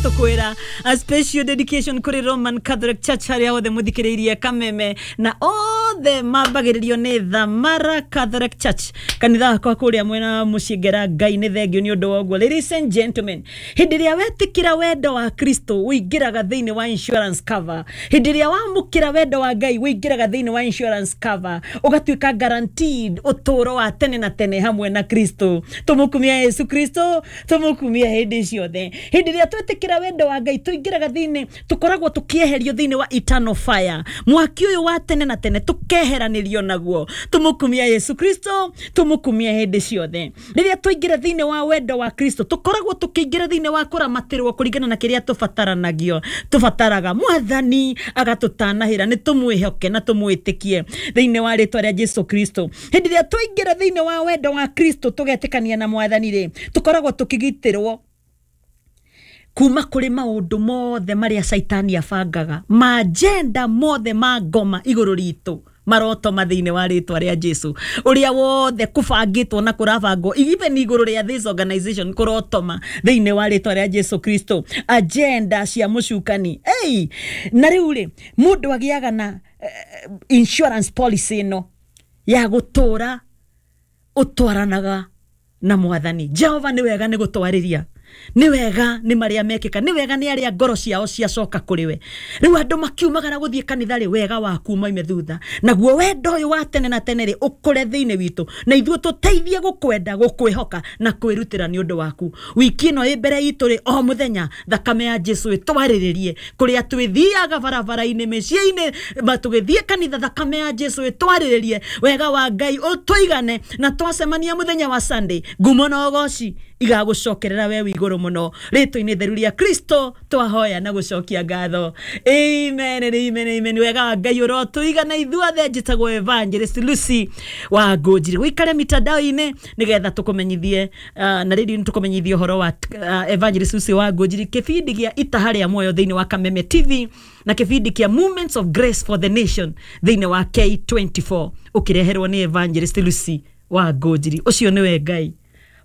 Tũkwĩra a special dedication kũrĩ Roman Catholic Church, harĩa othe mũthikĩrĩirie Kameme na othe mambagĩrĩrio nĩ Thamara Catholic Church, kanitha wakwa kũrĩa mwena wa mũciĩ ngera. Ngai nĩ thengio nĩ ũndũ wa ũguo. Ladies and gentlemen, hĩndĩ ĩrĩa wetĩkĩra wendo wa Kristo, ũingĩraga thĩinĩ wa insurance cover. Hĩndĩ ĩrĩa wamũkĩra wendo wa Ngai, ũingĩraga thĩinĩ wa insurance cover, ũgatuĩka guaranteed ũtũũro wa tene na tene hamwe na Kristo. Tũmũkumia Yesu Kristo, tũmũkumia hĩndĩ ciothe. Hĩndĩ ĩrĩa twetĩkĩra wendo wa Ngai, tũingĩraga thĩinĩ, tũkoragwo tũkĩeherio thĩinĩ wa eternal fire, mwaki ũyũ wa tene na tene, tũkeheranĩrio naguo. Tũmũkumia Yesu Kristo, tũmũkumia hĩndĩ ciothe. Rĩrĩa twaingĩra thĩinĩ wa wendo wa Kristo, tũkoragwo tũkĩingĩra thĩinĩ wa kũramatĩrwo kũringana na kĩrĩa tũbataranagio, tũbataraga. Mwathani agatũtanahĩra. Nĩ tũmwĩhoke na tũmwĩtĩkie thĩinĩ wa rĩtwa rĩa Jesu Kristo. Hĩndĩ ĩrĩa twaingĩra thĩinĩ wa wendo wa Kristo, tũgetĩkania na Mwathani rĩ, tũkoragwo tũkĩgitĩrwo kuma kũrĩ maũndũ mothe marĩa Caitani abangaga, maajenda mothe ma ngoma igũrũ ritũ marotoma thĩinĩ wa rĩtwa rĩa Jesu. Ũrĩa wothe kũbangĩtwo na kũrabangwo even igũrũ rĩa this organization kũrotoma thĩinĩ wa rĩtwa rĩa Jesu Kristo, agenda cia mũcukani. Hey! Na rĩu rĩ, mũndũ agĩaga na insurance policy ĩno ya gũtũra ũtwaranaga na Mwathani Jehova. Nĩ wega nĩ gũtwarĩria, nĩ wega nĩ marĩa mekĩka, nĩ wega nĩ arĩa ngoro ciao ciacoka kũrĩ we. Rĩu andũ makiumagara gũthiĩ kanitha rĩ, wega waku moime thutha, naguo wendo ũyũ wa tene na tene rĩ, ũkũre thĩinĩ witũ, na ithuĩ tũteithie gũkwenda, gũkwĩhoka na kwĩrutĩra nĩ ũndũ waku. Wiki ĩno ĩ mbere itũ rĩ, o mũthenya thakame ya Jesu ĩtwarĩrĩrie kũrĩa twĩthiaga, barabara-inĩ, mĩciĩ-inĩ, tũgĩthiĩ kanitha. Thakame ya Jesu ĩtwarĩrĩrie, wega wa Ngai ũtũigane, na twacemania mũthenya wa Sunday, ngumo na ũgoci igagũcokerera we wĩ igũrũ mũno. Rĩtwa-inĩ theru rĩa Kristo twahoya na gũcokia ngatho, amen and amen, amen. Wega wa Ngai ũrotũigana ithuothe. Njĩtagwo Evangelist Lucy wa Ngũnjiri. Wĩikare mitandao-inĩ nĩgetha tũkũmenyithie, na rĩu nĩ tũkũmenyithie ũhoro wa Evangelist Lucy wa Ngũnjiri, kĩbindi gĩa Itaha rĩa Muoyo thĩinĩ wa Kameme TV na kĩbindi kĩa Movements of Grace for the Nation thĩinĩ wa K24, ũkĩreherwo nĩ Evangelist Lucy wa Ngũnjiri. Ũcio nĩwe Ngai,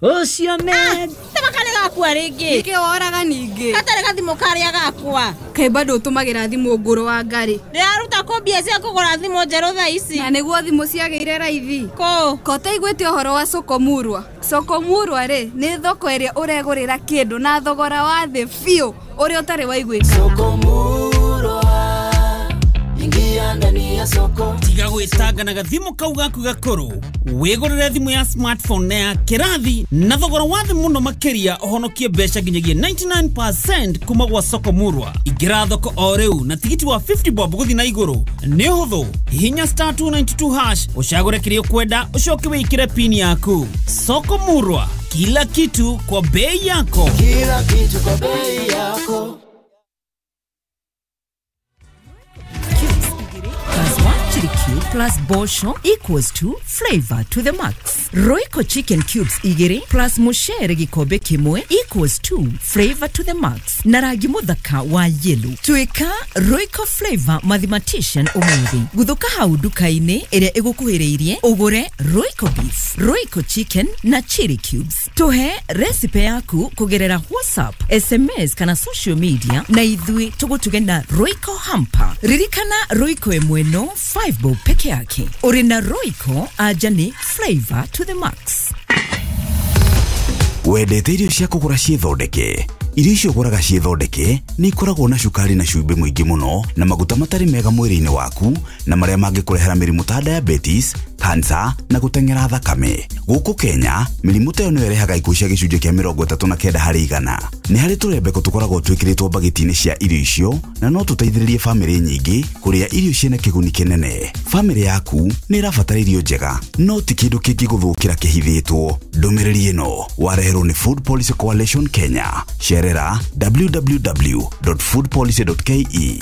ũcio nĩ Tama karĩ gakua rĩngĩ. Nĩkĩ woraga ningĩ? Gatarĩ gathimũ karĩa gakwa. Kaĩ bado ũtũmagĩra thimũ ngũrũ wa ngarĩ? Ndĩraruta kũ mbia cia kũgũra thimũ njerũ thaa ici? Na nĩguo thimũ ciagĩire raithi. Kũ? Ko ũtaiguĩte ũhoro wa Sokomurwa? Sokomurwa rĩ, nĩ thoko ĩrĩa ũregũrĩra kĩndũ na thogora wa thĩ biũ ũrĩa ũtarĩ waiguĩkana. Sokomurwa, ingia ndani ya soko. Tiga gwĩtanga na gathimũ kau gaku gakũrũ, wĩgũrĩre thimũ ya smartphone na ya kĩrathi na thogora wa thĩ mũno makĩria, ũhonokie mbeca nginyagia 99% kuma gwa Soko Murwa. Ingĩra thoko o rĩu na tigiti wa 50 bob gũthiĩ na igũrũ. Nĩ ũhũthũ, hihinya *292# ũcagũre kĩrĩa ũkwenda, ũcoke wĩkĩre pin yaku. Soko Murwa, kila kitu kwa bei yako. Kila kitu kwa bei yako. Plus one chili cube plus bosho equals to flavor to the max. Royco chicken cubes igiri plus mushere gikombe kimwe equals to flavor to the max. Na rangi muthaka wa yellow. Tuika Royco Flavor Mathematician umuthi. Guthuka hau nduka-inĩ ĩrĩa ĩgũkuhĩrĩirie, ũgũre Royco beef, Royco chicken na chili cubes. Tuhe recipe yaku kũgerera WhatsApp, SMS kana social media, na ithuĩ tũgũtuge na Royco hamper. Ririkana, Royco ĩmwe no 5 bob peke yake. Ũrĩ na Royco, anja nĩ flavor to the max. Wendete irio cia kũgũra ciĩthondeke? Irio icio ũgũraga ciĩthondeke nĩ ikoragwo na cukari na cumbĩ mũingĩ mũno na maguta matarĩ mega mwĩrĩ-inĩ waku, na marĩa mangĩkũrehera mĩrimũ ta diabetes, cancer na gũteng'era thakame. Gũkũ Kenya, mĩrimũ ta ĩyo nĩyo ĩrehaga ikuũ cia 39% harĩ igana. Nĩ harĩ tũrembeko tũkoragwo twĩkĩrĩtwo mbagiti-inĩ cia irio icio, na no tũteithĩrĩrie bamĩrĩ nyingĩ kũrĩa irio ciĩna kĩguni kĩnene. Bamĩrĩ yaku nĩ ĩrabatara irio njega, no ti kĩndũ kĩngĩgũthũkĩra kĩhithĩtwo. Ndũmĩrĩri ĩno wareherwo nĩ Food Policy Coalition Kenya. Cerera www.foodpolicy.ke.